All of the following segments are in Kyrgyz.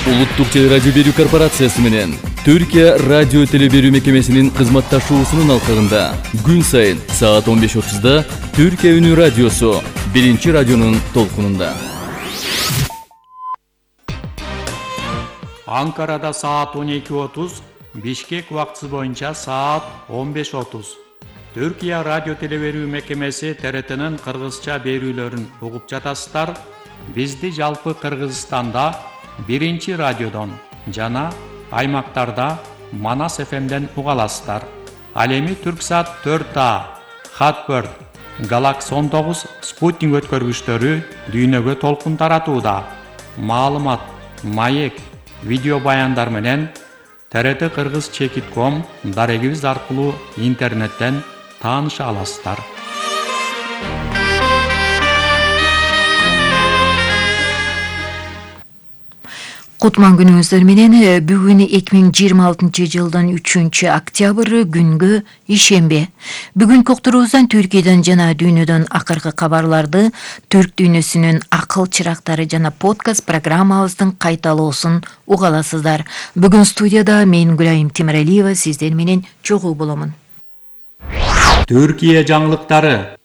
Улуттук телерадио берүү корпорациясы менен Түркия радио телеберүү мекемесинин кызматташуусунун алкагында күн сайын саат 15:30 Түркия үнү радиосу биринчи радионун толкунунда. Анкарада саат 12:30, Бишкек убактысы боюнча саат 15:30. Түркия радио телеберүү мекемеси ТРТнын кыргызча берүүлөрүн угуп жатасыздар. Бизди жалпы Кыргызстанда биринчи радиодон жана аймактарда Манас ФМден уга аласыздар. Ал эми Түрксат 4А, Хатбird, Galaxy 19 спутник өткөргүчтөрү дүйнөгө толкун таратууда. Маалымат, маек, видео баяндар менен TRT Kırgız.com дарегибиз аркылуу интернеттен тааныша аласыздар. Кутман күнүңүздөр менен бүгүн 2026 жылдын 3-октябрь күнгө ишемби. Бүгүн коктурубуздан Түркиядан жана дүйнөдөн акыркы кабарларды, Түрк дүйнөсүнүн акыл чырактары жана подкаст программабыздын кайталоосун уга аласыздар. Бүгүн студияда мен Гүлайым Темиралиева сиздер менен чогуу боломун. Түркия жаңылыктары.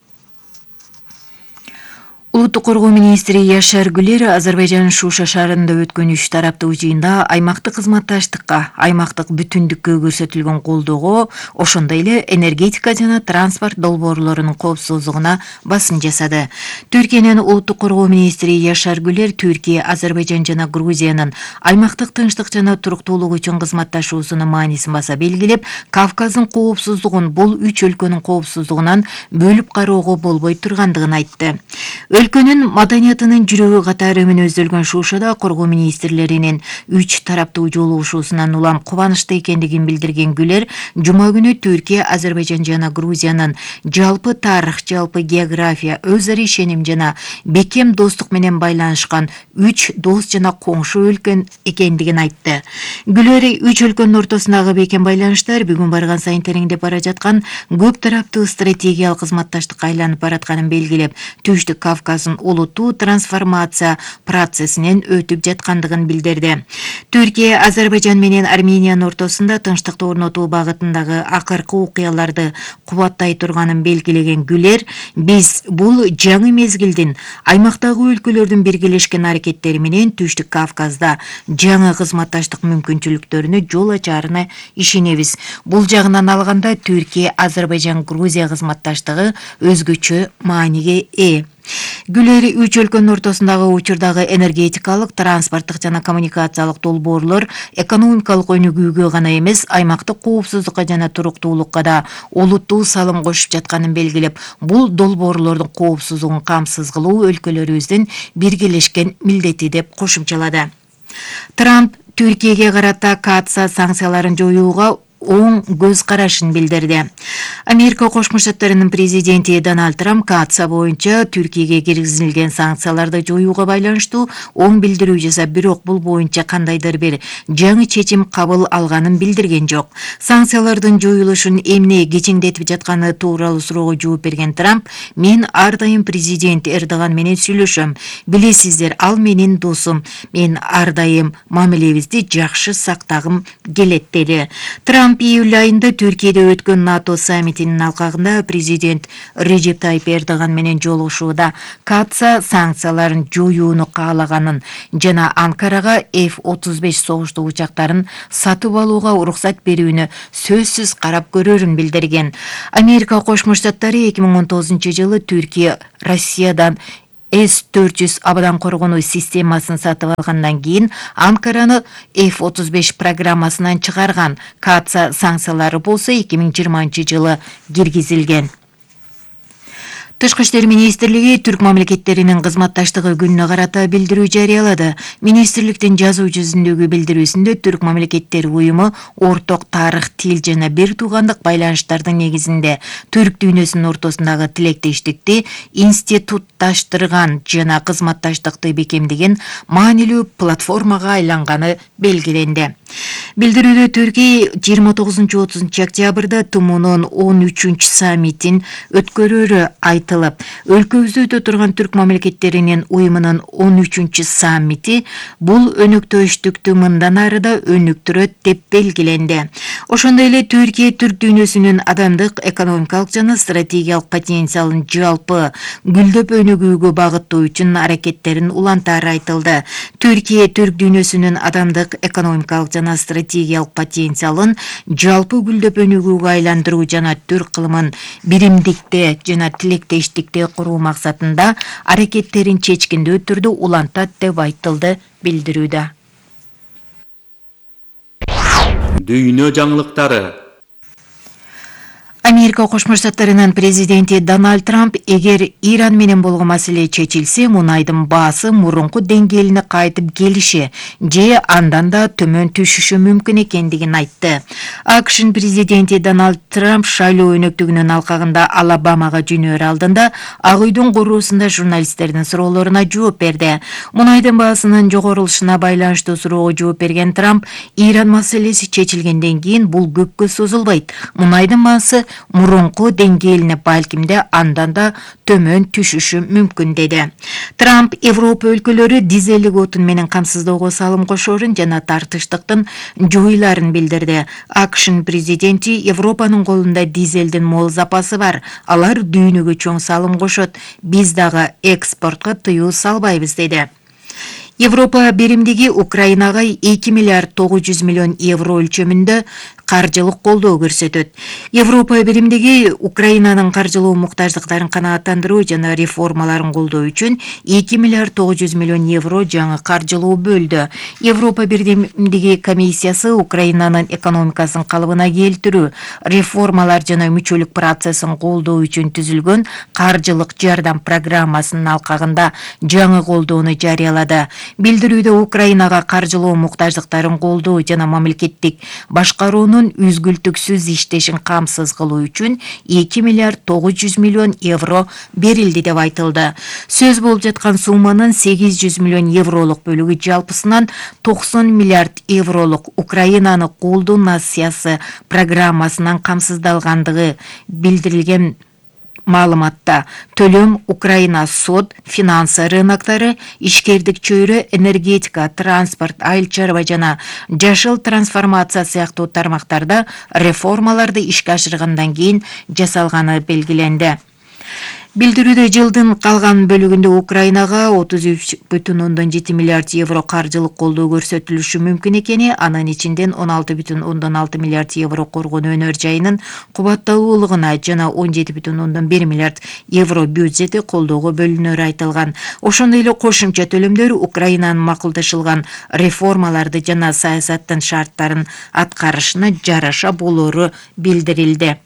Улуттук коргоо министри Яшар Гүлер Азербайжан Шуша шаарында өткөн 3 тараптуу жыйында аймактык кызматташтыкка, аймактык бүтүндүккө көрсөтүлгөн колдоого, ошондой эле энергетика жана транспорт долбоорлорунун коопсуздугуна басым жасады. Түркиянын улуттук коргоо министри Яшар Гүлер Түркия, Азербайжан жана Грузиянын аймактык тынчтык жана туруктуулук үчүн кызматташуусунун маанисин баса белгилеп, Кавказдын коопсуздугун бул 3 өлкөнүн коопсуздугунан бөлүп кароого болбой тургандыгын айтты. Өлкөнүн маданиятынын жүрөгү катары мүнөздөлгөн Шушада коргоо министрлеринин 3 тараптуу жолугушуусунан улам кубанычта экендигин билдирген Гүлер, жума күнү Түркия, Азербайжан жана Грузиянын жалпы тарых, жалпы география, өз ара ишеним жана бекем достук менен байланышкан 3 дос жана коңшу өлкө экендигин айтты. Гүлер 3 өлкөнүн ортосундагы бекем байланыштар бүгүн барган сайын тереңдеп бара жаткан көп тараптуу стратегиялык кызматташтыкка айланып баратканын белгилеп, Түштүк Кавказдын улуттуу трансформация процессинен өтүп жаткандыгын билдирди. Түркия, Азербайжан менен Армениянын ортосунда тынчтыкты орнотуу багытындагы акыркы окуяларды кубаттай турганын белгилеген Гүлер, биз бул жаңы мезгилдин аймактагы өлкөлөрдүн биргелешкен аракеттери менен Түштүк Кавказда жаңы кызматташтык мүмкүнчүлүктөрүнө жол ачарына ишенебиз. Бул жагынан алганда Түркия, Азербайжан, Грузия кызматташтыгы өзгөчө мааниге ээ. Гүлер 3 өлкөнүн ортосундагы учурдагы энергетикалык, транспорттук жана коммуникациялык долбоорлор экономикалык өнүгүүгө гана эмес, аймактык коопсуздукка жана туруктуулукка да олуттуу салым кошуп жатканын белгилеп, бул долбоорлордун коопсуздугун камсыз кылуу өлкөлөрүбүздүн биргелешкен милдети деп кошумчалады. Трамп Түркияга карата катса санкцияларын жоюуга оң көз карашын билдирди. Америка Кошмо Штаттарынын президенти Дональд Трамп катса боюнча Түркияга киргизилген санкцияларды жоюуга байланыштуу оң билдирүү жасап, бирок бул боюнча кандайдыр бир жаңы чечим кабыл алганын билдирген жок. Санкциялардын жоюлушун эмне кечеңдетип жатканы тууралуу суроого жооп берген Трамп, мен ар дайым президент Эрдоган менен сүйлөшөм. Билесиздер, ал менин досум. Мен ар дайым мамилебизди жакшы сактагым келет деди. Трамп июль айында Түркияда өткөн НАТО саммитинин алкагында президент Режеп Тайип Эрдоган менен жолугушууда катса санкцияларын жоюуну каалаганын жана Анкарага F-35 согуштуу учактарын сатып алууга уруксат берүүнү сөзсүз карап көрөрүн билдирген. Америка Кошмо Штаттары 2019 жылы Түркия Россиядан С-400 абадан коргонуу системасын сатып алгандан кийин Анкараны F-35 программасынан чыгарган. Катса санкциялары болсо 2020 жылы киргизилген. Тышкы иштер министрлиги түрк мамлекеттеринин кызматташтыгы күнүнө карата билдирүү жарыялады. Министрликтин жазуу жүзүндөгү билдирүүсүндө түрк мамлекеттери уюму орток тарых, тил жана бир туугандык байланыштардын негизинде түрк дүйнөсүнүн ортосундагы тилектештикти институтташтырган жана кызматташтыкты бекемдеген маанилүү платформага айланганы белгиленди. Билдирүүдө Түркия 29-30 октябрда ТУМУнун 13 саммитин өткөрөрү айтылды. айтылып, өлкөбүздө өтө турган түрк мамлекеттеринин уюмунун 13-чү саммити бул өнөктөштүктү мындан ары да өнүктүрөт деп белгиленди. Ошондой эле Түркия түрк дүйнөсүнүн адамдык, экономикалык жана стратегиялык потенциалын жалпы гүлдөп өнүгүүгө багыттоо үчүн аракеттерин улантаары айтылды. Түркия түрк дүйнөсүнүн адамдык, экономикалык жана стратегиялык потенциалын жалпы гүлдөп өнүгүүгө айландыруу жана түрк кылымын биримдикте жана тилектештикте куруу максатында аракеттерин чечкиндүү түрдө улантат деп айтылды билдирүүдө. Дүйнө жаңылыктары. Америка Кошмо Штаттарынын президенти Дональд Трамп эгер Иран менен болгон маселе чечилсе, мунайдын баасы мурунку деңгээлине кайтып келиши же андан да төмөн түшүшү мүмкүн экендигин айтты. АКШ президенти Дональд Трамп шайлоо өнөктүгүнүн алкагында Алабамага жөнөөр алдында Ак үйдүн короосунда журналисттердин суроолоруна жооп берди. Мунайдын баасынын жогорулушуна байланыштуу суроого жооп берген Трамп, Иран маселеси чечилгенден кийин бул көпкө созулбайт. Мунайдын баасы мурунку деңгээлине балкимде андан да төмөн түшүшү мүмкүн деди. Трамп Европа өлкөлөрү дизелдик отун менен камсыздоого салым кошоорун жана тартыштыктын жоюларын билдирди. АКШ президенти Европанын колунда дизелдин мол запасы бар. Алар дүйнөгө чоң салым кошот. Биз дагы экспортко тыюу салбайбыз деди. Европа биримдиги Украинага 2 миллиард 900 миллион евро өлчөмүндө каржылык колдоо көрсөтөт. Европа биримдиги Украинанын каржылуу муктаждыктарын канааттандыруу жана реформаларын колдоо үчүн 2 миллиард 900 миллион евро жаңы каржылуу бөлдү. Европа биримдиги комиссиясы Украинанын экономикасын калыбына келтирүү, реформалар жана мүчөлүк процессин колдоо үчүн түзүлгөн каржылык жардам программасынын алкагында жаңы колдоону жарыялады. Билдирүүдө Украинага каржылуу муктаждыктарын колдоо жана мамлекеттик башкаруунун үзгүлтүксүз иштешин камсыз кылуу үчүн 2 миллиард 900 миллион евро берилди деп айтылды. Сөз болуп жаткан сумманын 800 миллион евролук бөлүгү жалпысынан 90 миллиард евролук Украинаны колдоо насиясы программасынан камсыздалгандыгы билдирилген. Маалыматта төлөм Украина сот, финансы рыноктары, ишкердик чөйрө, энергетика, транспорт, айыл чарба жана жашыл трансформация сыяктуу тармактарда реформаларды ишке ашыргандан кийин жасалганы белгиленди. Билдирүүдө жылдын калган бөлүгүндө Украинага 33,7 миллиард евро каржылык колдоо көрсөтүлүшү мүмкүн экени, анын ичинден 16,6 миллиард евро коргон өнөр жайынын кубатталуулугуна жана 17,1 миллиард евро бюджети колдоого бөлүнөрү айтылган. Ошондой эле кошумча төлөмдөр Украинанын макулдашылган реформаларды жана саясаттын шарттарын аткарышына жараша болоору билдирилди.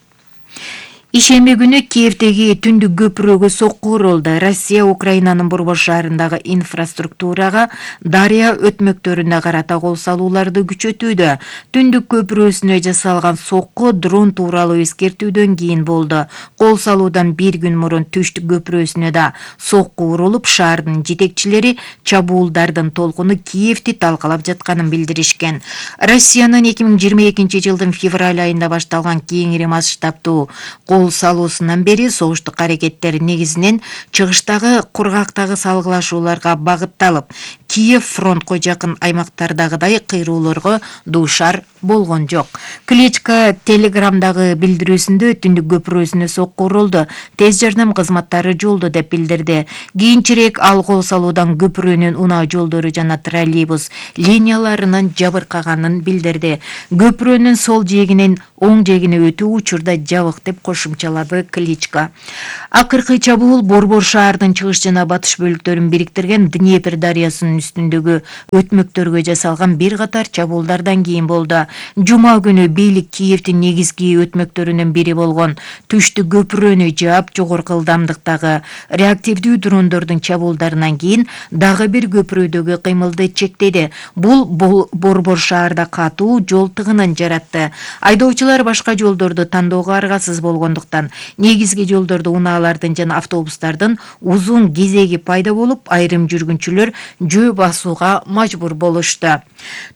Ишемби күнү Киевдеги түндүк көпүрөгө сокку урулду. Россия Украинанын борбор шаарындагы инфраструктурага дарыя өтмөктөрүнө карата кол салууларды күчөтүүдө. Түндүк көпүрөсүнө жасалган сокку дрон тууралуу эскертүүдөн кийин болду. Кол салуудан bir күн мурун түштүк көпүрөсүнө да сокку урулуп, шаардын жетекчилери чабуулдардын толкуну Киевди талкалап жатканын билдиришкен. Россиянын 2022 жылдын февраль айында башталган кеңири масштабтуу кол салуусунан бери согуштук аракеттер негизинен чыгыштагы кургактагы салгылашууларга багытталып, Киев фронтко жакын аймактардагыдай кыйроолорго дуушар болгон жок. Кличко Телеграмдагы билдирүүсүндө түндүк көпүрөсүнө сокку урулду, тез жардам кызматтары жолдо деп билдирди. Кийинчерээк ал кол салуудан көпүрөнүн унаа жолдору жана троллейбус линияларынын жабыркаганын билдирди. Көпүрөнүн сол жээгинен оң жээгине өтүү учурда жабык деп кошумчалады Кличко. Акыркы чабуул борбор шаардын чыгыш жана батыш бөлүктөрүн бириктирген Днепр дарыясынын үстүндөгү өтмөктөргө жасалган бир катар чабуулдардан кийин болду. Жума күнү бийлик Киевдин негизги өтмөктөрүнүн бири болгон түштүк көпүрөнү жаап, жогорку ылдамдыктагы реактивдүү дрондордун чабуулдарынан кийин дагы бир көпүрөдөгү кыймылды чектеди. Бул борбор шаарда катуу жол тыгынын жаратты. Айдоочулар башка жолдорду тандоого аргасыз болгондуктан болгондуктан негизги жолдордо унаалардын жана автобустардын узун кезеги пайда болуп, айрым жүргүнчүлөр жөө басууга мажбур болушту.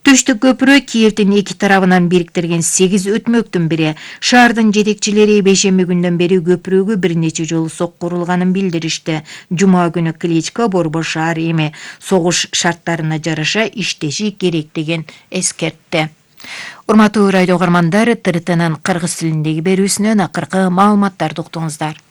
Түштүк көпүрө Киевдин эки тарабынан бириктирген 8 өтмөктүн бири. Шаардын жетекчилери бейшемби күндөн бери көпүрөгө бир нече жолу сокку урулганын билдиришти. Жума күнү Кличко Борбор шаар эми согуш шарттарына жараша иштеши керектигин эскертти. Урматтуу радио угармандар, ТРТнын кыргыз тилиндеги берүүсүнөн акыркы маалыматтарды уктуңуздар.